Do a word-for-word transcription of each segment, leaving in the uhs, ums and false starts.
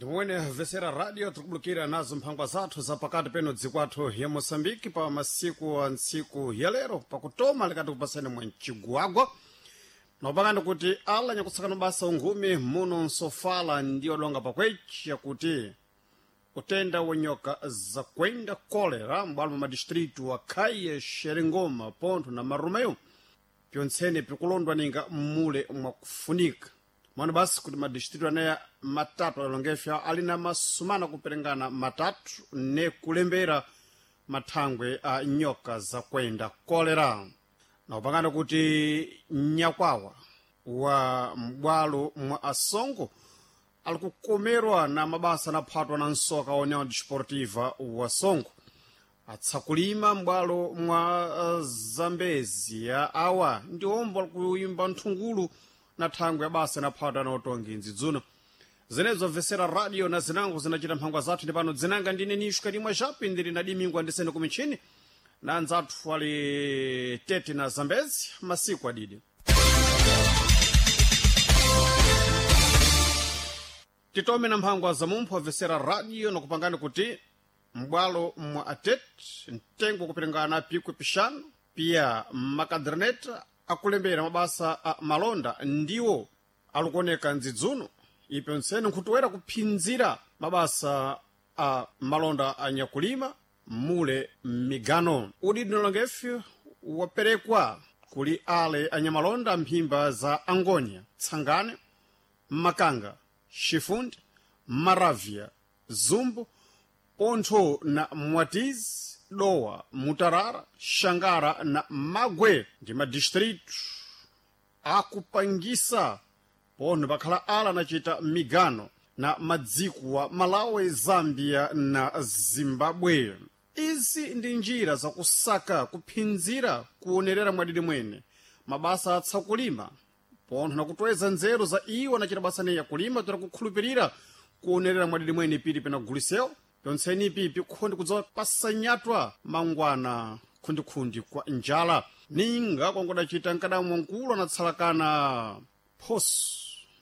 Ndimwene vesera radio tikubulukira nazo mphangwa zathu za pakati peno dziko athu ya Moçambique pa masiku a ntsiku ya lero pakutoma likati kupasani mwe mcigwagwa nopangani kuti ala nyakutsakana basa unghumi muno nsofala ndi odonga pakwechi yakuti utenda wa nyoka zakwenda kolera m'bwalo mwa madistritu wa Caia, Xerengoma, Ponto na Marromeu pyontsene pikulondwa ninga mmule mwakufunika mwana basi kuti madistritu aneya matatu alongefya ali na masumana kuperengana matatu ne kulembera mathangwe a nyoka zakwenda kolera na kupangana kuti nyakwawa wa m'bwalo mwa asongo ali kukomerwa na mabasa anaphatwa na nsoka wa União Desportiva wa Songo atsakulima m'bwalo mwa uh, Zambezia awa ndi omwe alikuimba nthungulu na thangwe ya basa inaphatwa na utongi nzidzuno zenezo vesera radio na zinango zinachita mphangwa zathu ndi pano dzinanga ndine nishka limwe chapi ndili na dimingwa ndisene kumichini na anzathu ali tete na Zambezi masiku adidi titome na mphangwa za mumpho vesera radio nakupangani kuti m'bwalo mwa atet mtengo kupilingana pikwi pixanu pia makaderneta akulembera mabasa a malonda ndiwo alikuoneka ndzidzuno ipyontsene nkhutuwera kuphinzira mabasa a malonda a nyakulima mule migano udidi nalongefyo waperekwa kuli ale anyamalonda mphimba za Angonia, Tsangane, Makanga, Chifundi, Maravia, Zumbu, Pontho na Mwatizi, Dowa, Mutarara, Xangara na Magwe ndi madistritu akupangisa pontho pakhala ala anachita migano na madziko wa Malawi, Zambia na Zimbabwe. Izi ndi njira zakusaka kuphinzira kuonerera mwadidi mwene mabasa atsakulima pontho nakutweza nzeru za iwo anachita basa neyi yakulima toera kukhulupirira kuonerera mwadidi mwene pili penagulisewo pyontseni ipi pikhondi kudzawa pasanyatwa mangwana khundikhundi kwa njala ninga kwangodacita mkadamwa mkulu anatsalakana phoso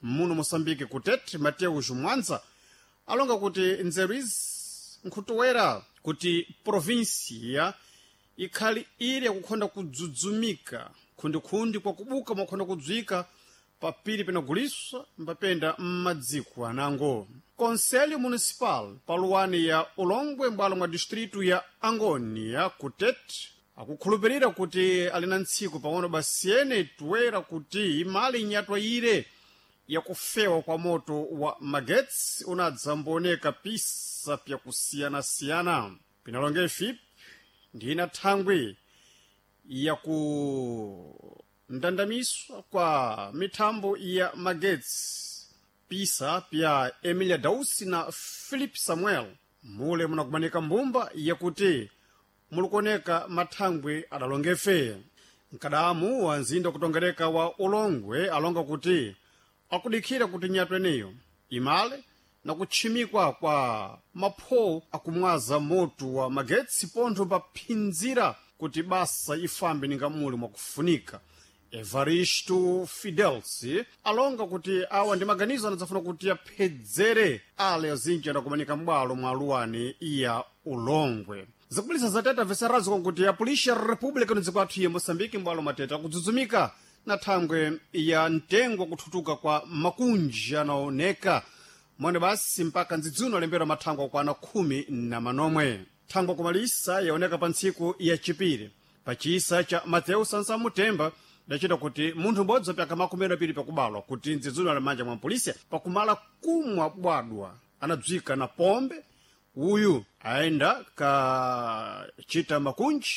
muno Moçambique kutete Mateus Mwanza alonga kuti nzeru izi nkhutuwera kuti provinsia ikhali ili yakukhonda kudzudzumika khundikhundi kwakubuka mwakhonda kudzwika papiri penaguliswa mbapenda m'madziko anango Conselho Municipal paluwani ya Ulongwe m'bwalo mwa distritu ya Angonia kutete akukhulupirira kuti ali na ntsiku pang'ono basiyene tuwera kuti imali inyatwa ire yakufewa kwa moto wa magetsi unadzambooneka pisa pyakusiyanasiyana pinalonge ifipi ndina thangwi yakundandamiswa kwa mithambo ya magetsi pisa pya Emilia Dausi na Philip Samuel mule munakumanika mbumba yakuti mulikuoneka mathangwi adalongefe mkadamu wa nzinda kutongereka wa Ulongwe alonga kuti akudikhira kuti nyatwa eneyo imale na kutchimikwa kwa maphowo akumwaza moto wa magetsi pontho paphinzira kuti basa ifambe ninga muli mwakufunika Evaristo Fidels alonga kuti awa ndi maganizo anadzafuna kuti aphedzere ale azinji adakumanika m'bwalo mwa aluwani ya Ulongwe zikubulisa zateta veserazo kuti apulisha República no athu ya Moçambique m'bwalo mateta akudzudzumika na thangwe ya mtengo kuthutuka kwa makunji anaoneka mwene basi mpaka ndzidzuno alembera mathangwe akwana khumi na manomwe thangwe kumalisa yaoneka pa ntsiku ya chipiri pachisa cha Mateu Sansamutemba dachita kuti munthu m'bodzi wapyaka makumi apiri pakubalwa kuti ndzidzuno ali manja mwa polisi pakumala kumwa bwadwa anadzwika na pombe uyu ayenda kachita makunji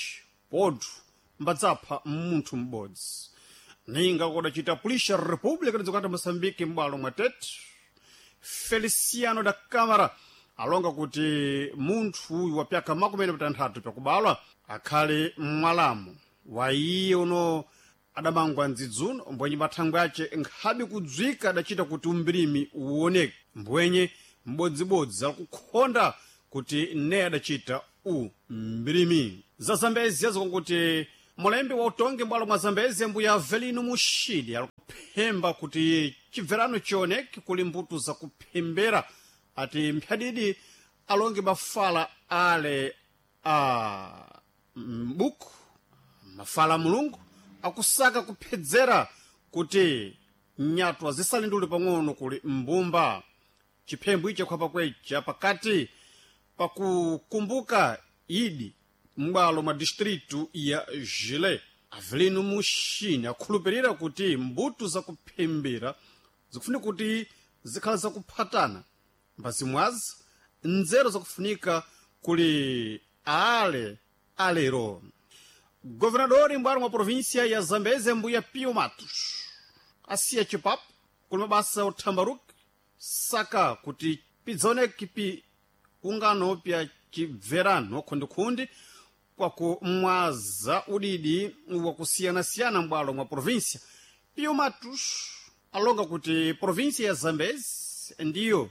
pontho mbadzapha munthu m'bodzi ninga kodachita pulisha República dzikati Moçambique m'bwalo mwa Tete Feliciano da Câmara alonga kuti munthu uyu wapyaka makumi matanthatu pakubalwa akhale mwalamu wa iye uno adamangwa ndzidzuno mbwenye mathangwe ace nkhabe kudzwika adachita kuti umbirimi uwoneke mbwenye m'bodzibodzi akukhonda kuti ne adachita u mbirimi za Zambezi azikonkuti mulembi wa utongi m'bwalo mwa Zambezi mbuya Avelino Mushidi alikuphemba kuti chibverano chioneke kuli mbuto zakuphembera Ati mphadidi alonge mafala ale a mbuku mafala a Mulungu akusaka kuphedzera kuti nyatwa zisalindule pang'ono kuli mbumba. Chiphembo ichi khwapa kwecha pakati pakukumbuka idi m'bwalo mwa distritu ya Jile. Avelino Muxini akhulupirira kuti mbuto zakuphembera zikufunika kuti zikhala zakuphatana mbazimwazi nzeru zakufunika kuli ale alero. Governador m'bwalo mwa província ya Zambeze mbuya Pio Matos asiya chipapo kuli mabasa othambaruka saka kuti pidzaoneke pi ungano pya chibverano khundikhundi kwakumwaza udidi wakusiyanasiyana m'bwalo mwa província. Pio Matos alonga kuti província ya Zambezi ndiyo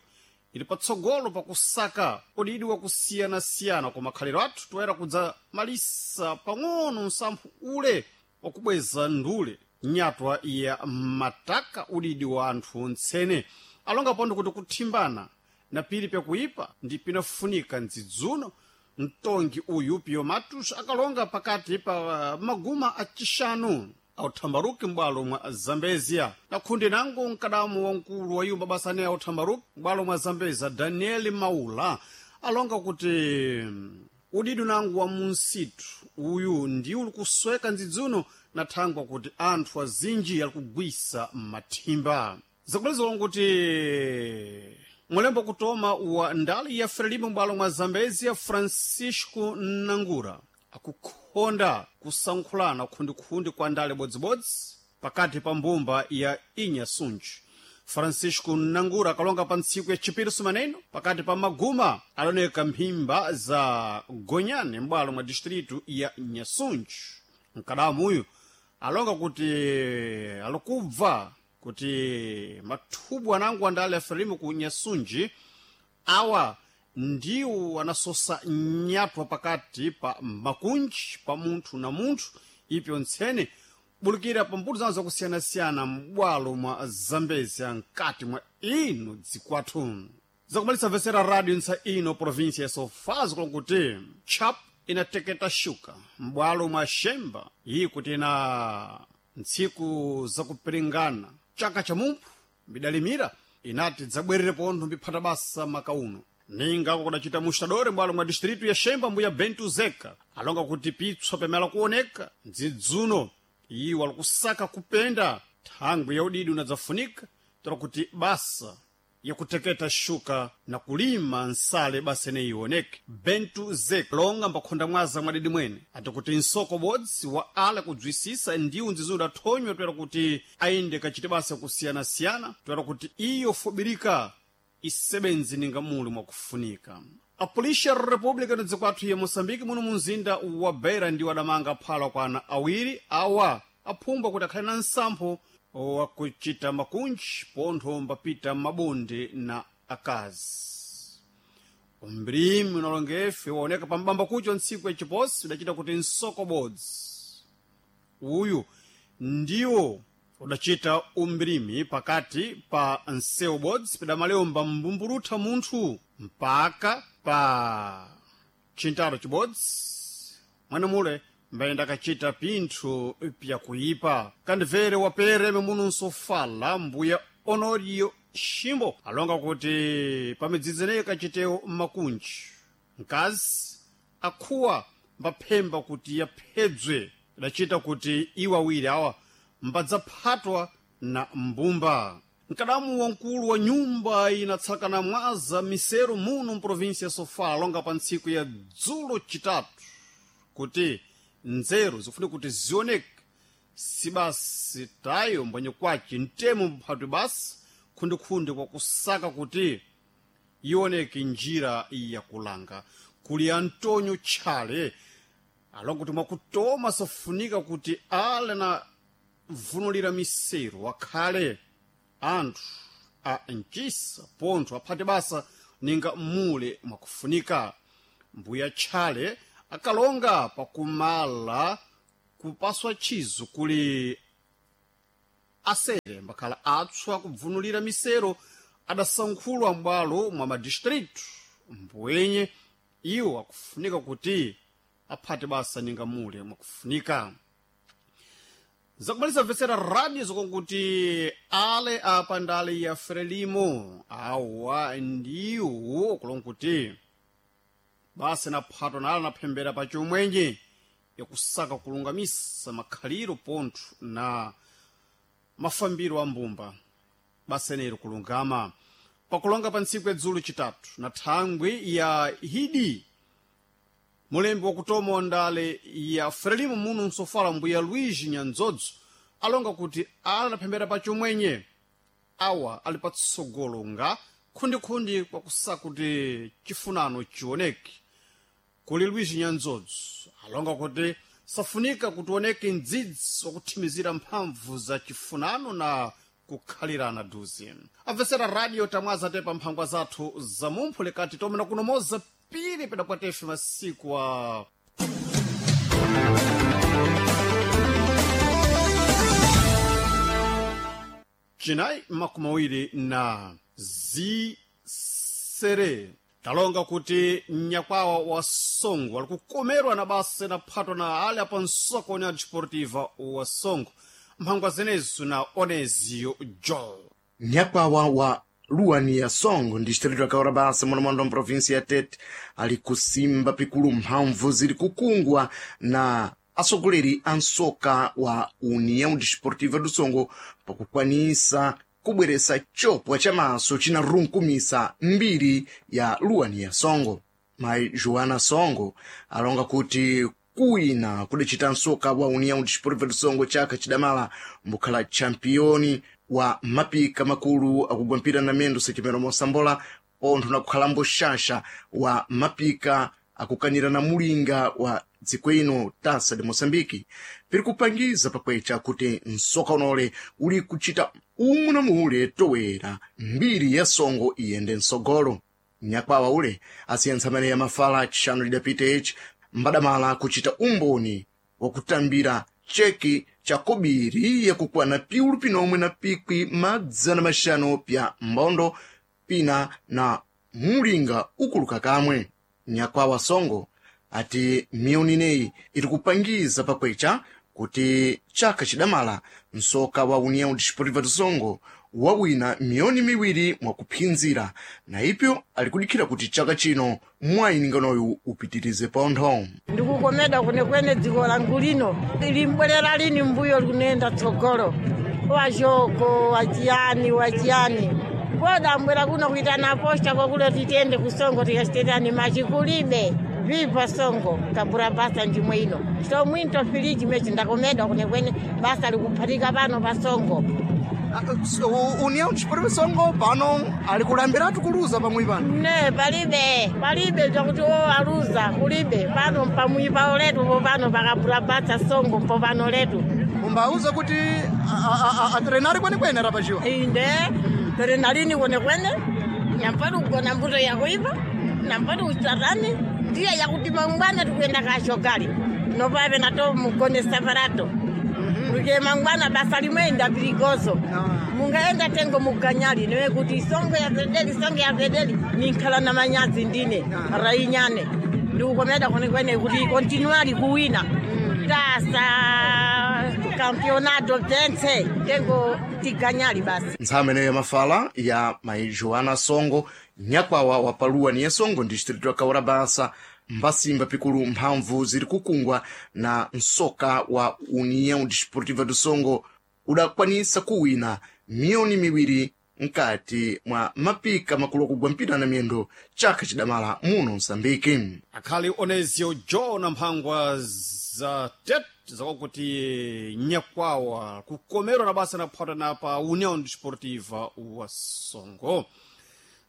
ili patsogolo pakusaka udidi wakusiyanasiyana kwa makhaliro athu toyera kudzamalisa pang'ono msamphu ule wakubweza ndule nyatwa ya mataka udidi wa anthu ntsene. Alonga pondo kuti kuthimbana na pili pyakuipa ndi pinafunika ndzidzuno. Mtongi uyu Pio Matos akalonga pakati pa maguma acixanu authambaruki m'bwalo mwa Zambezia. Na khundi nango mkadamu wamkulu wa yumba basa ane authambaruki m'bwalo mwa Zambezia Daniel Maula alonga kuti udidi nangu wa munsitu uyu ndi uli kusweka ndzidzuno na thangwa kuti anthu azinji ali kugwisa mathimba. Zakulizolonga kuti mulembo kutoma wa ndali ya Frelimo m'bwalo mwa Zambezia Francisco Nangura akukhonda kusankhulana khundikhundi kwa ndale bodzibodzi pakati pa mbumba ya Inhasunji. Francisco Nangura akalonga pa ntsiku ya chipiri sumaneno pakati pa maguma aloneka mphimba za Gonyane m'bwalo mwa distritu ya Nyasunji. Mkadamu uyu alonga kuti alikubva kuti mathubu anango andale aferimo ku Nyasunji awa ndiwo anasosa nyatwa pakati pa makunji pa munthu na munthu ipyo ntsene bulukira pa mbuto zawo zakusiyanasiyana m'bwalo mwa Zambezia mkati mwa ino dzikwathu. Zakumalisa vesera radio ntsa ino província ya Sofala zikulu kuti chap inateketa shuka m'bwalo mwa Xemba iyi kuti ina ntsiku zakupiringana chaka cha mumphu mbidalimira inati dzabwerere pontho mbiphata basa makauno. Ninga kudacita mustadore m'bwalo mwa distritu ya Xemba mbuya Bento Zeka alonga kuti pitswa pamela kuoneka ndzidzuno iwo alikusaka kupenda thangwi ya udidi unadzafunika tola kuti basa yakuteketa shuka na kulima nsale basa ineyi ioneke. Bento Zeka longa mbakhonda mwaza mwadidi mwene ati kuti nsoko bodzi wa ala kudzwisisa ndiwo ndzidzuno athonywa toera kuti ayinde kachite basa kusiyanasiyana toera kuti iyo fubirika isebenzi ninga muli mwakufunika. Apolisi ya República dzikwathu ya Moçambique muno munzinda wa Beira ndiwo adamanga aphala kwa ana awiri awa aphumbwa kuti akhale na nsampho wakuchita makunji pontho mbapita mabonde na akazi. Umbrimi unalongefe waoneka pambamba kucho ntsiku yachiposi udachita kuti nsoko bodzi uyu ndiwo udachita umbrimi pakati pa nsewu bodzi pidamalemba mbumburutha munthu mpaka pa chintalo chibodzi mwene mule mbayenda akachita pinthu pyakuipa. Kandivere wapere muno nsofala mbuya Honorio Ximbo alonga kuti pamidzidzi ineyi kachitewo makunji mkazi akhuwa mbaphemba kuti yaphedzwe idachita kuti iwo awiri awa mbadzaphatwa na mbumba. Mkadamu wamkulu wa nyumba inatsakana mwaza misero muno mprovinsi ya Sofala alonga pa ntsiku ya dzulo chitatu kuti nzeru zikufunika kuti zioneke sibasi tayo mbwenye kwace mtemo mphatwi basi khundikhundi kwakusaka kuti ioneke njira yakulanga. Kuli Antonio Tchale alonga kuti mwakutoma safunika kuti ale na vunulira miseru akhale anthu a mchisa pontho aphate basa ninga mule mwakufunika. Mbuya Tchale akalonga pakumala kupaswa chizo kuli asere mbakhala atswa kubvunulira misero adasankhulwa m'bwalo mwa madistritu mbwenye iwo akufunika kuti aphate basa ninga mule mwakufunika. Zakumaliza mvetsera radio zokonkuti ale apa ndale ya Frelimo awa ndiwo kulonkuti basa naphatwa nala naphembera pa chomwenje yakusaka kulungamisa makhaliro pontho na mafambiro a mbumba basenero kulungama pakulonga pa ntsiku yadzulu chitatu na thangwi ya hidi mulembi wakutoma wa ndale ya Frelimo muno msofala mbuya Luigi Nyanzodzo alonga kuti ala naphembera pa chomwenye awa ali patsogolo nga khundikhundi kwakusaka kuti chifunano chioneke. Kuli Luigi Nyanzodzo alonga kuti safunika kuti oneke mdzidzi wakuthimizira mphamvu za chifunano na kukhalirana duzi. Amvesera radio tamwaza tepa mphangwa zathu za mumphu lekati tomena kunomoza pili pedakwatefe masiku a chinayi makumi awiri na zisere. Talonga kuti mnyakwawa wa Songo ali kukomerwa na basa naphatwa na ali apa nsoko União Desportiva wa Songo mphangwa zenezo na Onezio Joel. Nyakwawa wa luwani ya Songo distrito ya Kaurabasa muno wa província ya Tete ali kusimba pikulu mphamvu ziri kukungwa na atsogoleri a nsoka wa União Desportiva do Songo pakukwanisa kubweresa chopwa cha maso cinarunkumisa mbiri ya luwani ya Songo. Mayi Joana Songo alonga kuti kuwina kudacita nsoka wa União Desportiva do Songo chaka chidamala mbukhala championi wa mapika makulu akugwa mpira na mendo sechimero mosambola pontho na kukhalambo xaxa wa mapika akukanira na mulinga wa dziko ino Taça de Moçambique piri kupangiza pakwecha kuti nsoka unole uli kuchita umwe na mule towera mbiri ya Songo iyende msogolo. Nyakwawa ule asiyentsa amene ya mafala chixanu lidapita ichi mbadamala kuchita umboni wakutambira cheki cha kobiri yakukwana piulu pinomwe na pikwi madzana maxanu pya mbondo pina na mulinga ukuluka kamwe. Nyakwawa Songo ati miyoni ineyi iri kupangiza pakwecha kuti chaka chidamala nsoka wa União Desportiva do Songo wawina miyoni miwiri mwakuphinzira na ipyo alikudikhira kuti chaka chino mwayininganoyu upitirize pontho. Ndikukomeda kwenekwene dziko langu lino limbwerera lini mbuyo likunenda tsogolo wachoko wachiyani wachiyani podambwera kuno kuitana posta kwakulo titende kusongo tikasitetani machi kulibe vipa Songo kabura basa ndimwe ino so mwinto filiji mechi ndakomedwa kwenekwene basa likuphatika pano pa Songo. União Desportiva Songo pano alikulambiratu kuluza pamwe pano ne palibe palibe chakuti o aluza kulibe pano pamwi pawo letu popano pakabura basa Songo mpopano letu umbauza kuti atrenari kwenekwene rapachiwa inde terenalini kwenekwene nampati kugona mbuto yakuipa nampati kuchatani ndiye yakuti mangwana tikuyenda kashogali nopave nato mugone saparato luke mangwana basa limwe ndapiligozo mungaenda tengo muganyali niwe kuti isongo ya pedeli isongo ya pedeli ninkhala na manyazi ndine rainyane ndikukomeda kwenekwene kuti kontinuali kuwina tasa campeonato pense tengo tiganyali basi. Ntsama ineyo yamafala ya mayi Joana Songo nyakwawa wa paluwa ni ya Songo distrito ya Kaurabasa mbasimba pikulu mphamvu ziri kukungwa na nsoka wa União Desportiva do Songo udakwanisa kuwina miyoni miwiri mkati mwa mapika makulu akugwa mpira na miyendo chaka chidamala muno Msambiki. Akhali Onezio Joe na mphangwa za Tete zakuti nyakwawa kukomerwa na basa naphata na pa União Desportiva wa Songo.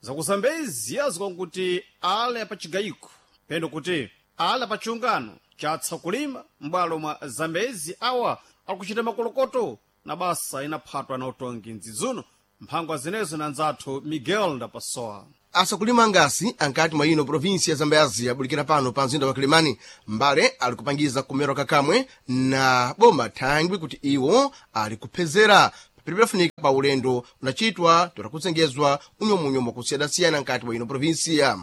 Zakuzambezia zikakuti ale apachigayiko pendo kuti ale apachiungano chatsa kulima m'bwalo mwa Zambezi awa akuchita makolokoto na basa inaphatwa na utongi mdzidzuno mphangwa zinezo na nzathu Miguel Ndapasowa. Asakulima ngasi ankati mwa ino provinsi ya Zambezi abulikira pano pa mzinda wa Kilimani mbale ali kupangiza kumerwa kakamwe na boma thangwi kuti iwo ali kuphezera pili pidafunika pa ulendo unachitwa totakuzengezwa unyomunyomu wakusiyanasiyana nkati mwa ino provinsia.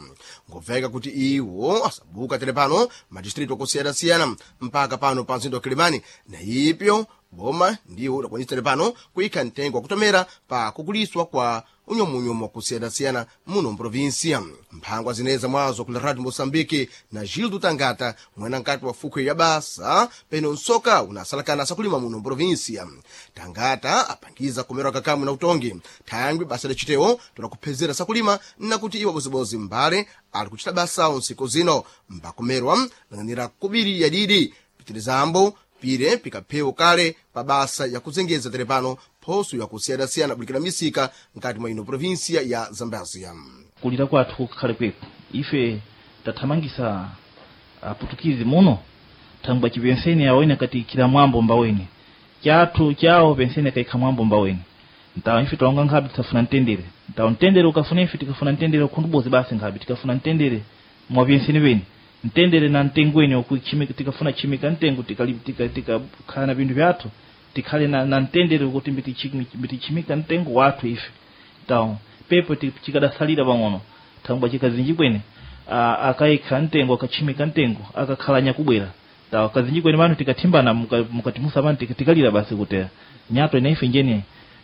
Ngobveka kuti iwo asabuka tere pano madistritu akusiyana-siyana mpaka pano pa mzinda wa Kilimani, na ipyo boma ndiwo udakwanisa tere pano kuyikha mtengo wakutomera pa kukuliswa kwa unyomunyomu wakusiyana-siyana muno mprovinsia. Mphangwa zineza mwazo kula Radio Moçambique na Gildo Tangata, mwena nkati wa fukhwe ya basa peno nsoka unasalakana sakulima muno mprovinsia. Tangata apangiza kumerwa kakamwe na utongi thangwi basa lacitewo tonakuphezera sakulima nakuti iwo bozibozi mbale ali kuchita basawo nsiku zino mbakumerwa lang'anira kubiri yadidi pitirizambo pire pikaphewo kale pa basa yakuzengeza tere pano phoso yakusiyanasiyana bulikira misika nkati mwa ino provinsia ya Zambezia. Kulira kwathu kukhale kweko ife tathamangisa aputukizi muno thangwa chipenseni awene kati mwambo mbaweni chathu chawo penseni akaikha mwambo mbaweni ntawo ife taonga nkhabe tisafuna mtendere ntawo mtendere ukafuna ife tikafuna mtendere ukhundubozi basi nkhabe tikafuna mtendere mwa penseni weni mtendere na mtengweni okuchimika tikafuna chimika mtengo tikakhala tika, tika, na pinthu pyathu tikhale na, na mtendere kuti mbitichimika mtengo wathu ife tawo pepo chikadasalira pang'ono thangwa chikazinji kwene akaikha mtengo akachimika mtengo akakhala nyakubwera tawo kazinji kwene pano tikathimbana mukatimusa pano tikalira basi kuti nyato ina ife njene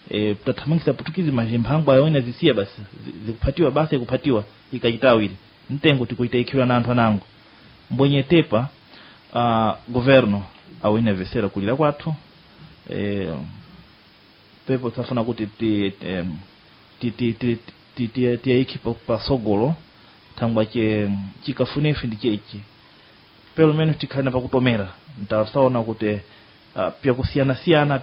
e, tathamangisa putukizi mazimphangwa ayona zisiya basi zikuphatiwa basi ikuphatiwa ikachitawiri mtengo tikuita na anthu anango mbwenye tepa uh, governo awine vesera kulira kwathu eh, pepo tafuna kuti ti ti ti ti ti ti tiyayikhe pasogolo thangwa che chikafuna ife ndi chechi pelo menos tikhale na pakutomera ntasaona kuti uh, pyakusiyanasiyana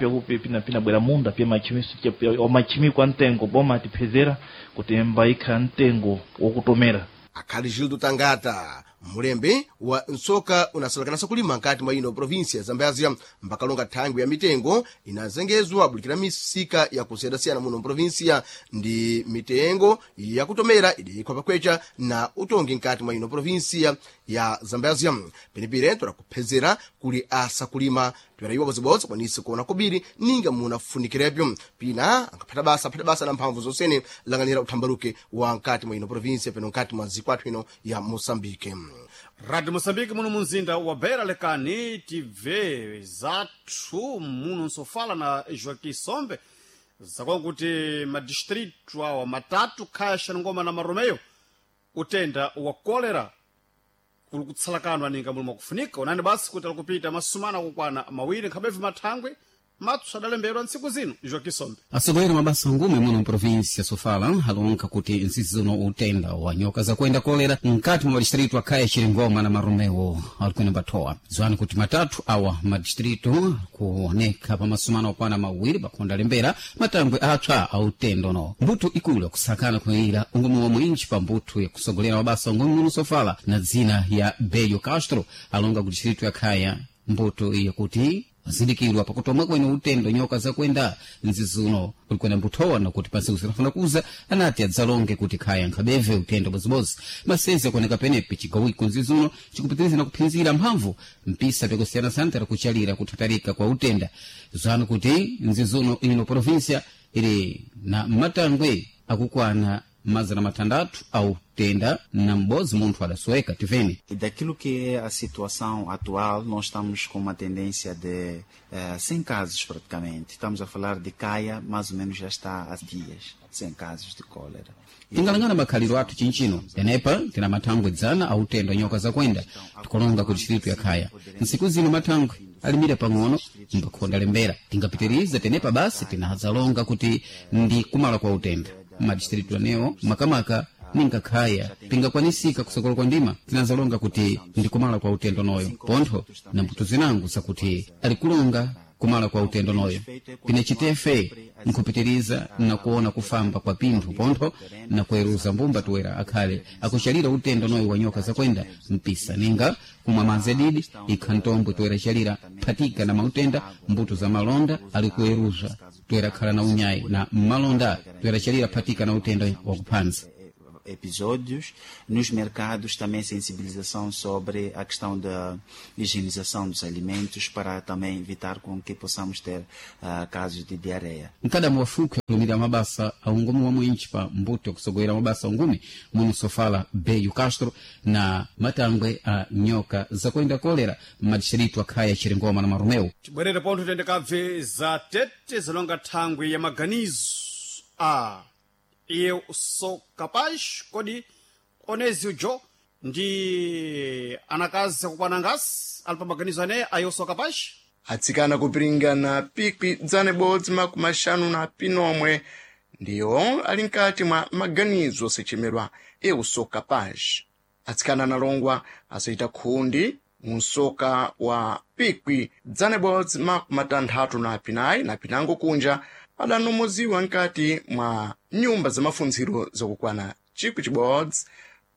pinabwera munda pya machimiso omachimikwa mtengo boma tiphezera kuti mbayikha mtengo wokutomera. Akhali Gildo Tangata, mulembe wa nsoka unasalakanasa kulima nkati mwa ino provinsia ya Zambezia, mbakalonga thangwi ya mitengo inazengezwa bulikira misika yakusiyanasiyana muno mprovinsia ndi mitengo yakutomera idiyikhwa pakwecha na utongi nkati mwa ino provinsia ya Zambezia. Penepire todakuphezera kuli asakulima toyerayiwa bodzibodzi kwanise kuona kubiri ninga munafunikirebyo pina angaphata basa aphata basa na mphamvu zonsene lang'anira uthambaluke wa nkati mwa ino provinsia peno nkati mwa zikwathu ino ya Moçambique. Radio Moçambique muno munzinda wa Beira lekani tibve zathu muno nsofala na Joaquim Sombe zakonga kuti madistritu awa matatu khaya Xaningoma na Maromeo utenda wa kolera uli kutsalakanwa ninga muli mwakufunika unani basi kuti alikupita masumana kukwana mawiri nkhabevi mathangwe matsu adalembedwa ntsiku zino Joaquim Sombe. Atsogoleri mabasa ngume muno mprovinsi ya Sofala alonka kuti ntsizi zino utenda wa nyoka zakuenda kolera nkati mwa madistritu akhaya Chiringoma na Maromeo alikwena bathowa ziwani kuti matatu awa madistritu kuoneka pa masumano okwana mawiri pakhonda lembera matangwe apsa a utenda uno mbuto ikulu yakusakana kuyira ungumu wa mwinji pa mbuto yakusogolera mabasa ngume muno Sofala na dzina ya Belio Castro alonga ku distritu ya Khaya mbuto iya kuti zindikirwa pakutomwa kwene utendo nyoka zakwenda nzizuno kulikwena mbuthowa nakuti pansiku zinafuna kuza anati adzalonge kuti khaya nkhabeve utendo bozibozi masezi akuoneka penepi cigawiko nzizuno cikupitiriza na kuphinzira mphamvu mpisa pyakusiyanasiyana tera kuchalira kuthatarika kwa utenda zanu kuti nzizuno ino provinsia ili na matangwe akukwana mazana matandatu au tenda na m'bodzi munthu adasoweka tiveni. Daquilo que é a situação atual, nós estamos com uma tendência de eh, cem casos praticamente. Estamos a falar de Caia, mais ou menos já está há dias, cem casos de cólera. Tingalangana makhaliro athu chinchino tenepa tina mathangwe dzana autendo nyoka zakwenda tikolonga ku distritu ya Khaya ntsiku zino mathangwe alimira pang'ono mbakhonda lembera tingapitiriza tenepa basi tinadzalonga kuti ndi kumala kwa utenda madistritu anewo makamaka ninga khaya pingakwanisika kusokolo kwa ndima tinazalonga kuti ndi kumala kwa utendo noyo pontho na mbuto zinango zakuti alikulonga kumala kwa utendo noyo pine chitefe nkhupitiriza na kuona kufamba kwa pinthu pontho na kueruza mbumba tuwera akhale akuchalira utendo noyo wa nyoka zakwenda mpisa ninga kumwa madzi adidi ikha ntombwe tuwera chalira phatika na mautenda mbuto za malonda ali kueruza tuwera khala na unyayi na mmalonda tuwera chalira phatika na utendo wakuphanza. episódios. Nos mercados também sensibilização sobre a questão da higienização dos alimentos para também evitar com que possamos ter uh, casos de diarreia. Mkada mwafuke kulumira mabasa aungumu wa mwinchi pa mbuto kusogwera mabasa ungumi muno sofala Beyu Castro na matangwe a nyoka zakwenda kolera madistritu akhaya Chiringoma na Marumeu. Tibwerere pontho tende kabve za tete zilonga thangwi ya maganizo a eu sou capaz kodi onezi ujo ndi anakazi akukwana ngasi ali pa maganizo aneya a eu sou capaz? Atsikana kupiringana pikwi dzana ibodzi makumi axanu na pinomwe ndiwo ali mkati mwa maganizo osechemedwa eu sou capaz. Atsikana analongwa asaita khundi mu msoka wa pikwi dzana ibodzi makumi atanthatu na pinayi na pinango kunja adanomoziwa mkati mwa nyumba za mafunziro zakukwana chikwi chibodzi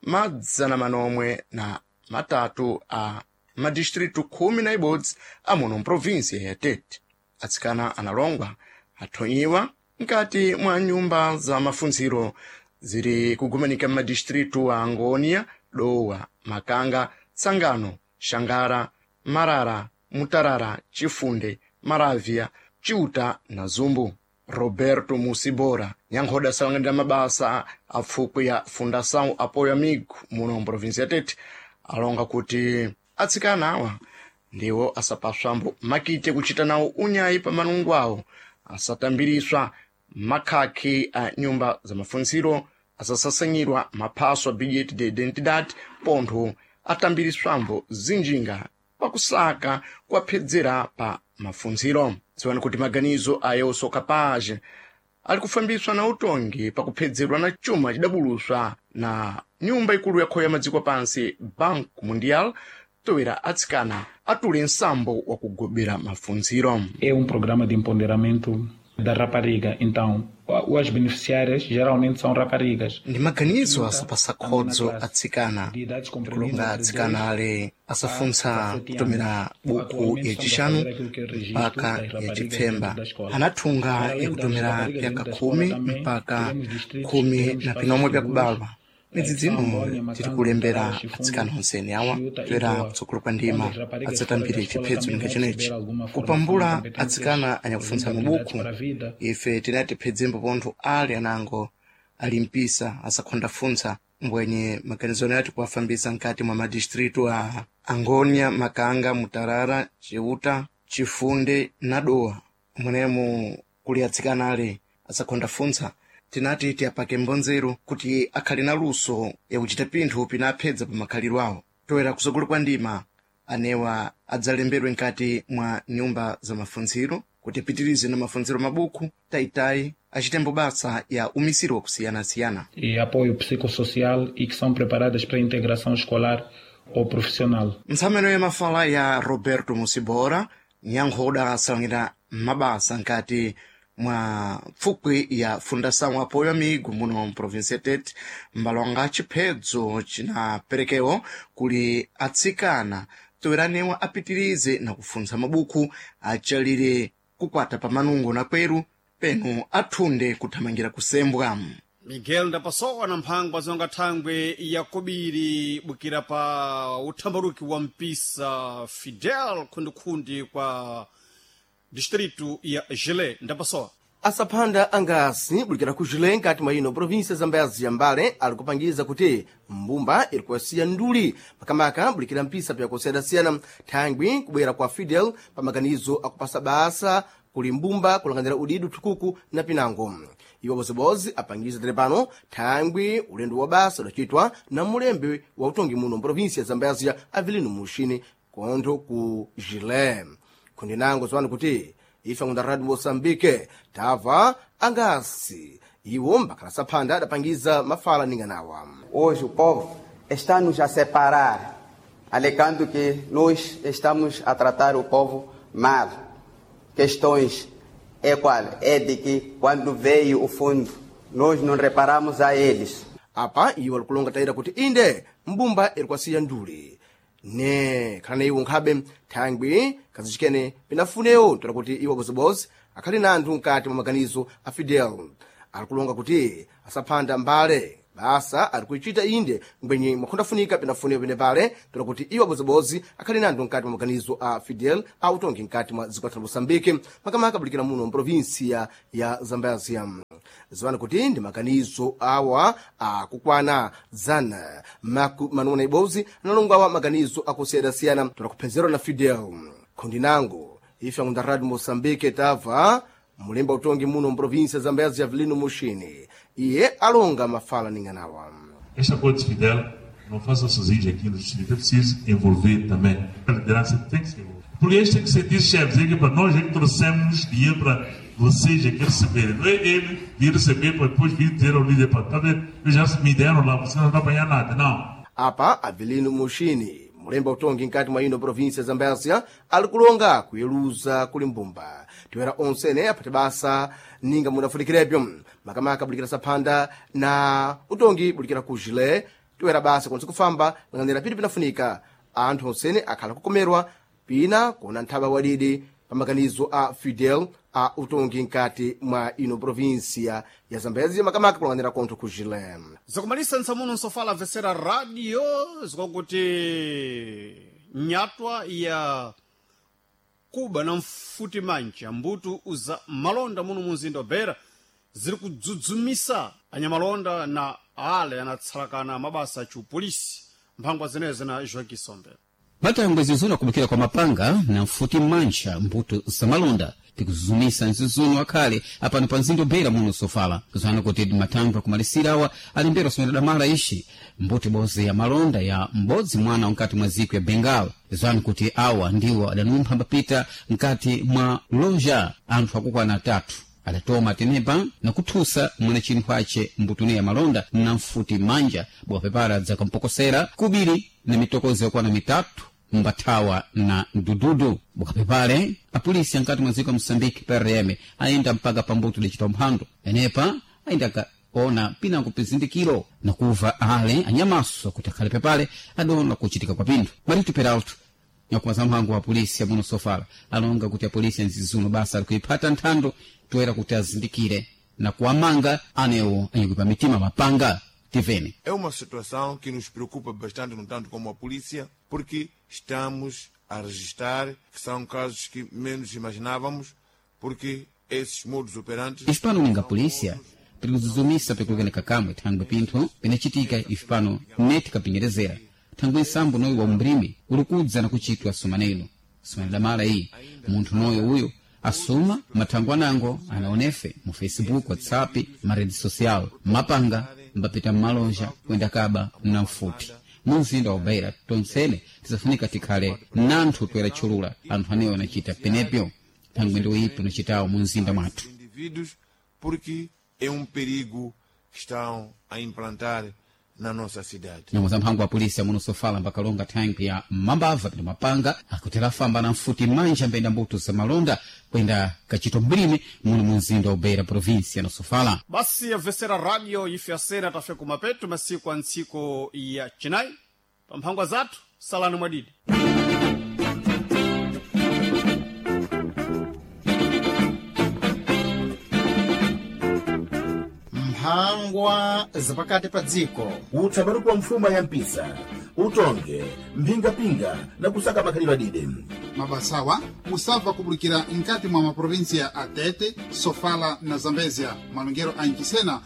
madzana manomwe na matatu a madistritu khumi na ibodzi amuno mprovinsia ya Tete. Atsikana analongwa athonyiwa mkati mwa nyumba za mafunziro ziri kugumanika m'madistritu a Angônia, Dowa, Makanga, Tsangano, Xangara, Marara, Mutarara, Chifunde, Maravia, Chiuta na Zumbu. Roberto Musibora nyankhoda asalang'anira mabasa a pfukwi ya Fundação Apoio Amigo muno mprovinsia ya Tete alonga kuti atsikana awa ndiwo asapaswambo makite kuchita nawo unyayi pa manungo awo, asatambiriswa makhakhi a nyumba za mafunziro, asasasanyirwa maphaso a bilhete de identidade, pontho atambiriswambo zinjinga pakusaka kuwaphedzera pa mafunziro. Dziwani kuti maganizo a eu sou capaz ali kufambiswa na utongi pakuphedzerwa na chuma chidabuluswa na nyumba ikulu yakhoya ya madziko pansi Banco Mundial toera atsikana atule nsambo wa kugobera mafunziro. É um programa de empoderamento da rapariga, então as beneficiárias geralmente são raparigas. Ndi maganizo asapasa khodzo atsikana, kulonga atsikana ale asafuntsa kutomera buku yacixanu mpaka yacipfemba, anathunga yakutomera pyaka khumi mpaka khumi na pinomwe pyakubalwa. Midzi dzino tiri kulembera atsikana onsene awa toera kutsogolo kwa ndima adzatambire chiphedzo ninga chenechi. Kupambula atsikana anyakufuntsa mabuku, ife tinati phedzembo pontho ali anango ali mpisa asakhondafuntsa mbwenye maganizo ati kuwafambisa mkati mwa madistritu a Angônia, Makanga, Mutarara, Chiuta, Chifunde na Dowa mwenemo kuli atsikana ale asakhondafuntsa. Tinati tiyapake mbonzero kuti akhale na luso yakuchita pinthu pinaphedza pa makhalidwe awo. Toera kutsogolo kwa ndima anewa adzalembedwe mkati mwa nyumba za mafunziro kuti apitirize na mafunziro mabuku taitayi achitembo basa ya umisiri wakusiyanasiyana. E apoio psicossocial e que são preparadas para a integração escolar ou profissional. Ntsameno ya mafala ya Roberto Musibora nyankhoda asalangira mabasa nkati mwa pfukwi ya Fundação Apoio Amigo muno mprovinsia ya Tete, mbalonga chiphedzo chinaperekewo kuli atsikana toeranewa apitirize na kufuntsa mabuku achalire kukwata pa manungo na kweru penu athunde kuthamangira kusembwa. Miguel ndapasowa na mphangwa zonga thangwe yakobiri bukira pa uthambaruki wa mpisa Fidel khundikhundi kwa distritu ya Gilé. Ndapasowa Asaphanda angasi bulikira ku Gilé nkati mwa ino província Zambezi ya Mbale ali kupangiza kuti mbumba iri kuwasiya nduli makamaka bulikira mpisa pyakusiyanasiyana thangwi kubwera kwa Fidel pa maganizo akupasa basa kuli mbumba kulanganira udidu thukuku na pinango. Iwo bozibozi apangiza tere pano thangwi ulendo wa basa udacitwa na mulembe wa utongi muno mprovíncia Zambezi ya Avelino Muxini kontho ku Gilé. Kundi nango ziwani kuti ife ngunda Radio Moçambique tava angasi iwo mbakhala saphanda adapangiza mafala ninganawa. Hoje o povo está nos a separar, alegando que nós estamos a tratar o povo mal. Questões é qual? É de que quando veio o fundo, nós não reparamos a eles. Apa iwo alikulonga tayira kuti inde mbumba iri kwasiya nduli ne khala na iwo nkhabe thangwi kazicikene pinafunewo tola kuti iwo bozibozi akhali na anthu mkati mwa maganizo a Fidel. Alikulonga kuti asaphanda mbale Basa ari kuichita inde ngwenye mwakhundafunika pinafunika pene pale tola kuti iwo abozibozi akhali nando mkati mwa maganizo a Fidel a utongi mkati mwa dziko la Moçambique, makamaka abulikira muno mprovinsia ya Zambezia. Ziwani kuti ndi maganizo awa akukwana zana maku manuna ibozi analongo awa maganizo akusiyana-siyana tola kuphezerwa na Fidel. Khundinango ife akunda Radio Moçambique tava mulemba utongi muno mprovinsia ya Zambezia Avelino Muxini, iye alonga mafala ning'anawa. Este acordo de Fidel não faça sozinho aqui no distrito, é preciso envolver também. A liderança tem que se envolver. Porque eles têm que sentir chefes, é que para nós é que trouxemos dinheiro para vocês é que receberem. Não é ele vir receber para depois vir dizer ao líder, para tá vendo? Eu já me deram lá, você não está apanhar nada, não. Apa Avelino Muxini, mulemba utongi mkati mwa ino provinsia ya Zambezia, ali kulonga kuyeluza kuli mbumba tiwera onsene aphate basa ninga munafunikirepyo, makamaka bulikira saphanda na utongi bulikira ku jile tiwera basa konse kufamba lang'anira piti pinafunika anthu onsene akhala kukomerwa pina kuona nthaba wadidi pa maganizo a Fidel a utongi mkati mwa ino provinsia ya Zambezia, makamaka kulang'anira kontho ku jile. Zakumalisa ntsamuno nsofala vesera radio zikwakuti nyatwa ya kuba na mfuti mancha mbutu uza malonda muno munzinda wa Beira ziri kudzudzumisa anyamalonda na ale anatsalakana mabasa achiupolisi. Mphangwa zenezi na Joaquim Sombe. Matangwe zinzuno akubukira kwa mapanga na mfuti mancha mbuto zamalonda tikuzuzumisa nzizuno akhale apano pa mzinda Beira muno sofala kuzana kuti matangwe akumalisira awa alimbera osomera damala ixi mbuto ibodzi ya malonda ya m'bodzi mwana mkati mwa ziko ya Bengal zani kuti awa ndiwo adanumpha mbapita mkati mwa loja anthu akukwana atatu adatoma tenepa na kuthusa mwene chinthu ace mbutune ya malonda na mfuti manja bwapepala dzakampokosera kubiri na mitokozo yakwana mitatu mbathawa na mdududu. Bukapepale apolisi ankati mwa dziko ya Moçambique P R M ayenda mpaka pambuto licita mphando enepa ayenda kaona pinango pizindikiro na kuva ale anyamaso kuti akhale pepale adona kuchitika kwa pinthu. Marito Peralto nyakumaza mhango wa polisi amuno sofala alonga kuti apolisi anzizuno basa ali kuiphata nthando toera kuti azindikire na kuamanga anewo anyakuipa mitima mapanga. Tivene. É uma situação que nos preocupa bastante, no tanto como a polícia, porque estamos a registrar que são casos que menos imaginávamos, porque esses modus operantes... Ifipano ninga polícia pirikuzuzumisa pikulukene kamwe thangwe pinthu pinachitika ifipano neti kapinjerezera thangwe nsambo noyo wa umbrimi ulikudza na kuchitwa sumanelo sumane damala iyi munthu noyo uyo asuma mathangwe anango anaonefe mu Facebook, WhatsApp, marede social mapanga mbapita mmalonja kuyenda kaba na mfuti mu mzinda wa Beira tonsene tizafunika tikhale nanthu toera tchulula anthu anewo anachita penepyo thangwe ndi uyipi unachitawo mu mzinda mwathu. Indivíduos, porque é um perigo que estão a implantar na nossa cidade. Nyambo za mphango wa polisi amuno sofala mbakalonga thankwi ya mambava pino mapanga akutera famba na mfuti manja mbenda mbuto za malonda kwenda kachito mbrime muno mu mzinda wa Beira província na Sofala. Basi yabvesera radio ife asena tafe kumapeto masiku a ntsiko ya chinayi pa mphangwa zathu salani mwadidi. Mphangwa zapakati pa dziko. Utsabaruku wa mfuma ya mpisa utonge mphingapinga na kusaka makhalidwe adide. Mabasawa musabva kubulikira nkati mwa maprovinsia a Tete, Sofala na Zambezia malongero a Ncisena.